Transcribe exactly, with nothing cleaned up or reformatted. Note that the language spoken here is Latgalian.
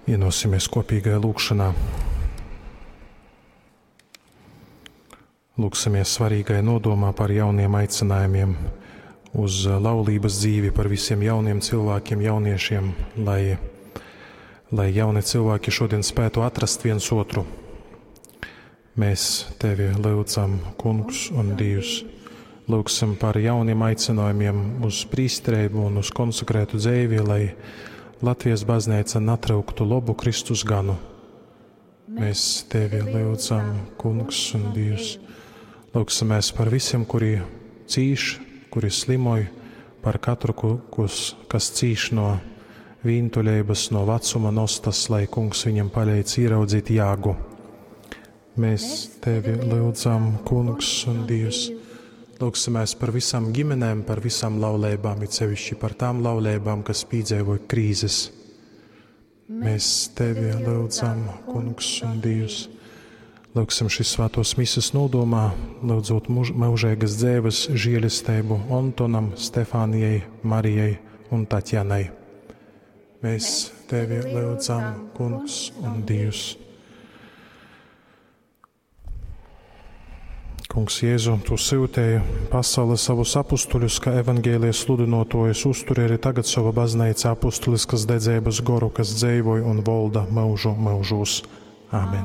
Vienosimies kopīgajā lūgšanā. Lūksimies svarīgai nodomā par jauniem aicinājumiem uz laulības dzīvi, par visiem jauniem cilvēkiem, jauniešiem, lai, lai jauni cilvēki šodien spētu atrast viens otru. Mēs tevi lūdzam, Kungs un Dievs. Lūgsim par jauniem aicinājumiem uz prīsterību un uz konsekrētu dzīvi, lai Latvijas baznīca natryuktu labu Kristus ganu. Mēs tevi lūdzam, Kungs un Dievs. Lūgsimies par visiem, kuri cīš, kuri slimoj, par katru, kus, kas cīš no vīntuļības, no vecuma nostas, lai Kungs viņam palīdz ieraudzīt jāgu. Mēs tevi lūdzam, Kungs un Dievs. Lūgsimies par visām ģimenēm, par visām laulībām, it sevišķi par tām laulībām, kas piedzīvoja krīzes. Mēs tevi lūdzam, Kungs un Dievs. Lūgsim šīs svētos mises nodomā, lūdzot mūžīgas dzīves žēlastību Antonam, Stefānijai, Marijai un Tatjanai. Mēs tevi lūdzam, Kungs un Dievs. Kungs Jēzu, tu sūtīji pasaulē savus apustuļus, kā evangēlijas sludinotojus, uzturi arī tagad savu baznīcu apustuliskas dedzības goru, kas dzeivoja un volda mūžu mūžos. Āmen.